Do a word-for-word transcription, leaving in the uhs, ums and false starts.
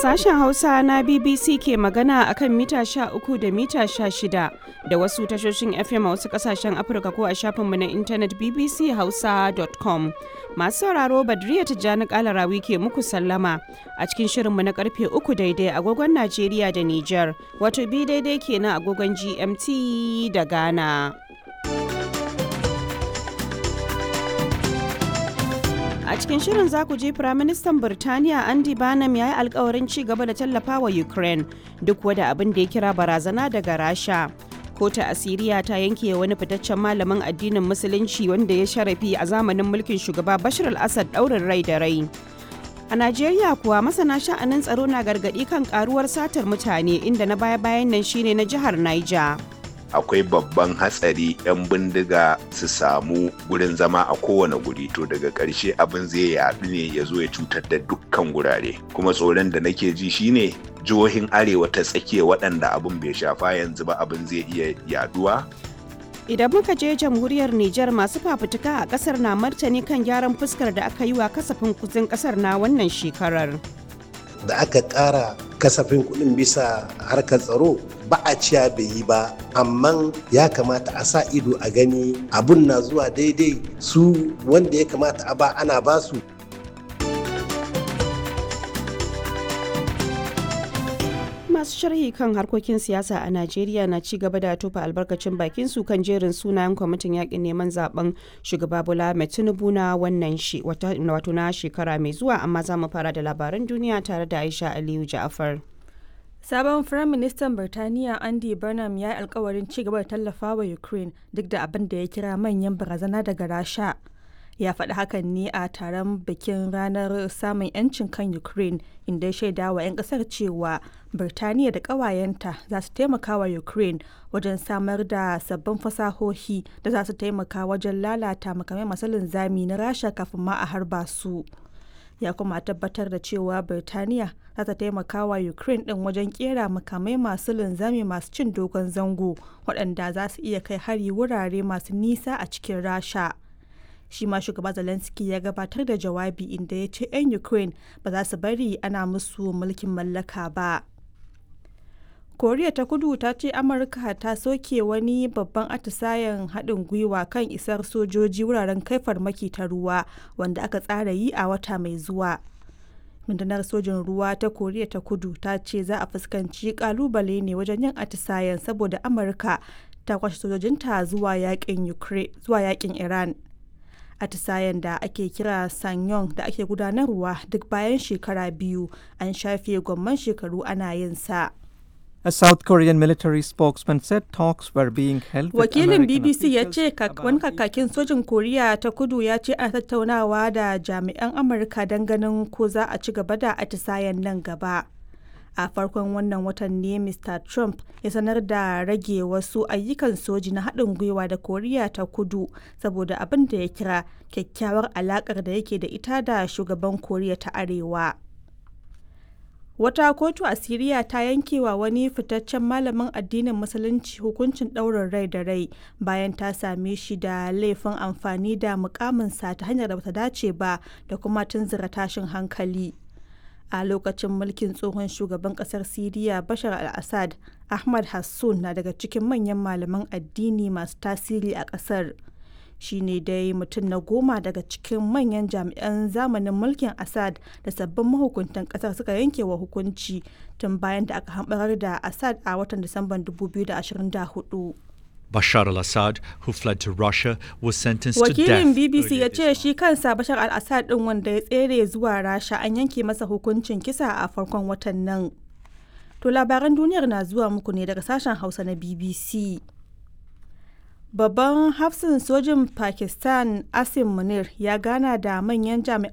Sashen Hausa na B B C ke magana akan mita sha uku da mita sha shida da wasu tashoshin F M a wasu kasashen Afirka ko a shafinmu na intanet B B C Hausa dot com. Masu sauraro, Badriya Tijjani Kalarawi ke muku sallama a cikin shirinmu na karfe uku daidai agogon Najeriya da Nijar, wato bi daidai kenan agogon G M T da Ghana. A cikin shirin za ku ji Firaministan Birtaniya Andy Barnum ya yi alkawarin ci gaba da tallafawa Ukraine duk wada abin da ya kira barazana daga Rasha. Kotu a Siriya ta yanke wani fitaccen malamin addinin Musulunci wanda ya sharafi a zamanin mulkin shugaba Bashar al-Assad daurin rai da rai. A Najeriya kuwa, masana sha'anin tsaro na gargaɗi kan karuwar satar mutane, inda na baya-bayan nan shine na jihar Niger. Akwai babban hatsari 'yan bindiga su samu gurin zama a kowane guri, to daga ƙarshe abin zai yaɗu ne ya zo ya cutar da dukkan gurare. Kuma tsoron da nake ji shine jihohin arewa ta tsakiya waɗanda abin bai shafa yanzu ba, abin zai iya yaduwa. Idan muka je jamhuriyar Nijar, masu fafutuka a kasar na martani kan gyaran fuskar da aka yi wa kasafin kudin kasar na wannan shekarar. Da aka ƙara kasafin kuɗin bisa harkar tsaro, ba a ciya bai yi ba, amma ya kamata a sa ido a gani abun na zuwa daidai su wanda ya kamata a ba ana ba su. Masu sharhi kan harkokin siyasa a Najeriya na ci gaba da tofa albarkacin bakin su kan jerin sunayen kwamitin yakin neman zaben shugaba Bola Ahmed Tinubu na wannan shi wato na shekara mai zuwa, amma za mu fara da labaran duniya tare da Aisha Aliyu Ja'afar. Sabon Firaministan Birtaniya Andy Burnham ya yi alkawarin ci gaba da tallafawa Ukraine duk da abin da ya kira manyan barazana daga Rasha. Ya faɗi hakan ne a taron bikin ranar samun 'yancin kan Ukraine, inda ya shaida wa 'yan ƙasar cewa Birtaniya da ƙawayenta za su taimaka wa Ukraine wajen samar da sabbin fasahohi da za su taimaka wajen lalata makamai masu linzami na Rasha kafin ma a harba su. Ya kuma tabbatar da cewa Birtaniya za ta taimaka wa Ukraine din wajen kera makamai masu linzami masu cin dogon zango waɗanda za su iya kai hari wurare masu nisa a cikin Rasha. Shi ma shugaba Zelensky ya gabatar da jawabi, inda ya ce 'yan Ukraine ba za su bari ana musu mulkin mallaka ba. Koriya ta Kudu ta ce Amurka ta soke wani babban atisayen haɗin gwiwa kan isar sojoji wuraren kai farmaki ta ruwa wanda aka tsara yi a wata mai zuwa. Rundunar sojin ruwa ta Koriya ta Kudu ta ce za a fuskanci kalubale ne wajen yin atisayen saboda Amurka ta kwashe sojojinta zuwa yakin Iran. Atisayen da ake kira Sanyong da ake gudanarwa duk bayan shekara biyu, an shafe gwamman shekaru ana yin sa. A South Korean military spokesman said talks were being held with Wakilin American B B C ya officials ce wani about kakakin sojin Koriya ta Kudu ya ce ana tattaunawa da jami'an Amurka don ganin ko za a ci gaba da atisayen nan gaba. A farkon wannan watan ne Mister Trump ya sanar da rage wasu ayyukan soji na haɗin gwiwa da Koriya ta Kudu saboda abin da ya kira kyakkyawar alaƙar da yake da ita da shugaban Koriya ta Arewa. Wata kotu a Siriya ta yanke wa wani fitaccen malamin addinin Musulunci hukuncin ɗaurin rai da rai bayan ta same shi da laifin amfani da mukaminsa ta hanyar da bata dace ba da kuma tunzura tashin hankali. A lokacin mulkin tsohon shugaban kasar Siriya Bashar al-Assad, Ahmad Hassun na daga cikin manyan malaman addini masu tasiri a kasar. Shi ne dai mutum na goma daga cikin manyan jami'an zamanin mulkin Assad da sabbin mahukuntan kasar suka yanke wa hukunci tun bayan da aka hambarar da Assad a watan Disamban dubu biyu da ashirin da hudu. Bashar al Assad, who fled to Russia, was sentenced to death Wakilin B B C earlier ya this ce month. shi kansa Bashar al-Assad din wanda ya tsere zuwa Rasha, an yanke masa hukuncin kisa a farkon watan nan. To, labaran duniyar na zuwa muku ne daga sashen Hausa na B B C. Babban hafsin sojin Pakistan Asim Munir ya gana da manyan jami'an